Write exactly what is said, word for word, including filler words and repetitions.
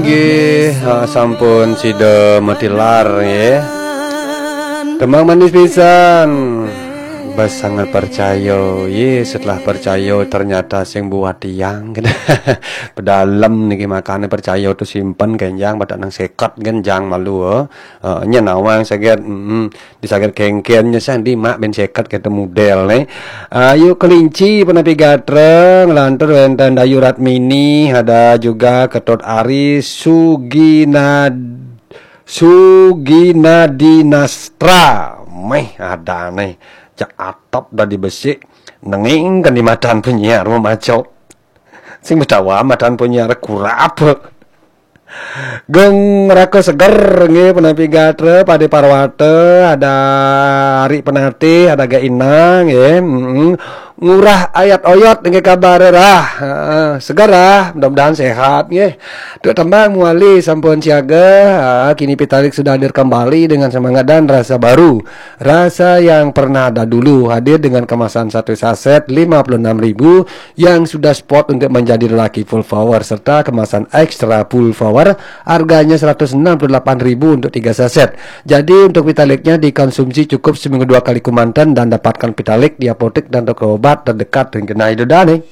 Nggih, ha, sampun sida matilar nggih. Tembang manis pisan. Bas sangat percaya. Ye, setelah percaya ternyata sing buat tiang. Pedalem niki makane percaya tu simpen kenjang pada nang seket kan jang malu. Eh, nyen awang saget. Mm-mm. Di saget kengken nyesang di mak ben seket kata model ne. Ayu Kelinci penapi gatra ngelantur wenten Dayu Ratmini, ada juga Ketut Ari Suginad Suginadinastra. Meh ada ne. Cak atap dah dibesik. Nenging kan di matan penyiar memaco. Sing betawa matan penyiar kurap. Geng Raka Seger nggih penapi gatra Pade Parwata, ada Ari Penatih, ada Ga Inang nggih. Mm-mm. Ngurah Ayat Oyot nggih kabar rah. Heeh, seger ah, mudah-mudahan sehat nggih. Tu tembang muali sampun siaga. Ah, kini Pitalik sudah hadir kembali dengan semangat dan rasa baru. Rasa yang pernah ada dulu hadir dengan kemasan satu saset lima puluh enam ribu yang sudah spot untuk menjadi lelaki full power serta kemasan extra full power harganya seratus enam puluh delapan ribu untuk tiga saset. Jadi untuk Pitaliknya dikonsumsi cukup seminggu dua kali kemanten dan dapatkan Pitalik di apotek dan toko obat terdekat dengan genai dodane.